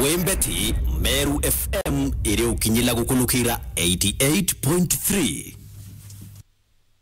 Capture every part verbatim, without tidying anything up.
Wembeti, Meru F M iri ukinyila gukunukira eighty-eight point three.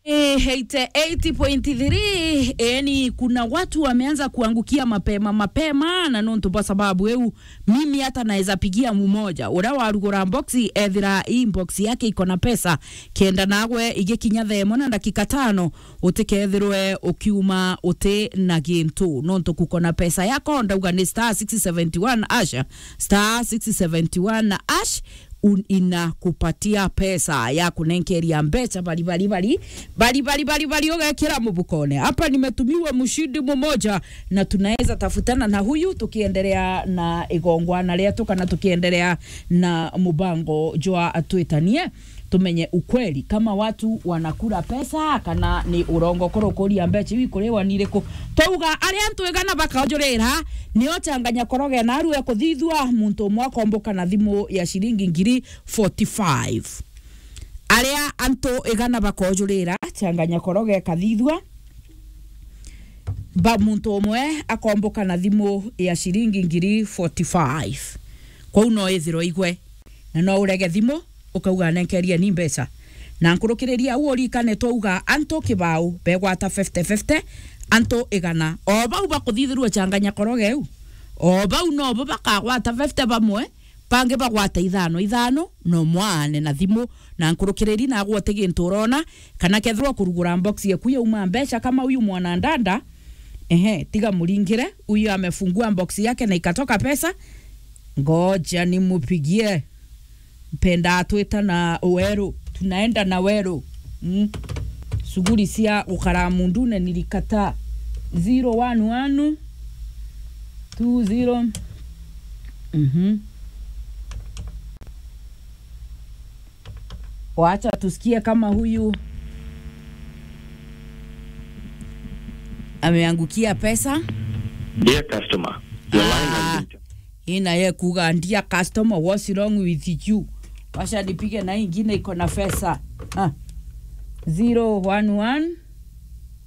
Eh, eighty-eight point three, yani kuna watu wameanza kuangukia mapema mapema, na nontu kwa sababu eu, mimi hata naweza pigia mmoja uria warugura box, ethira hii box yake iko na pesa, kenda nagwe igikinya thaa imwe na ndagika tano, utikethirwe ukiuma uti na gintu, nontu kuko na pesa yako, ndauga ni star six seventy one hash, star six seventy one hash, un-, inakupatia pesa ya kunenkeria mbeca bari, bari, bari, bari, bari, bari, ugekira mubukone. Hapa nimetumiwa mshindi mmoja, na tunaweza tafutana na huyu tukiendelea na igongwana rietu, kana tukiendelea na mubango jwa Twitanie, tumenye ukweli kama watu wanakula pesa kana ni urongo. Kurukuria mbeca iu ikuriwa ni iriku? Twauga aria antu igana bakojurira, nio Changanya Koroge na arue kuthithua, muntu umwe akomboka na thimu ya ciringi ngiri forty-five. Aria antu igana bakojurira, Changanya Koroge kathithua, ba muntu umwe akomboka na thimu ya ciringi ngiri forty-five. Kwou no ithirwe igwe, na no urege thimu, ukauga, "Nenkeria ni mbeca." Na nkurukiriria au urikane twauga antu kibao begwata fifty fifty, antu igana. O bau bakuthithirua Changanya Koroge u, o bau nobo bakagwata fifty bamwe, bangi bagwata ithano ithano, no mwaane na thimu, na nkurukiriri nagwe uti gintu urona, kana kethirwa kurugura box yaku yauma mbeca kama uyu mwanandanda, ehe, tiga muringire, uyu amefungua box yake na ikatoka pesa, ngoja nimupigie. Mpenda atwita na weru, tunaenda na weru. Mm. Shughuli cia gukara mundune nilikataa. Zero one one two zero. Mhm. Wacha tusikie kama huyu ameangukia pesa. Dear customer, your line has Ah, been ina ye kuga, "Dear customer, what's wrong with you?" Wacha nipige na ingine iko na pesa. Ah. Zero one one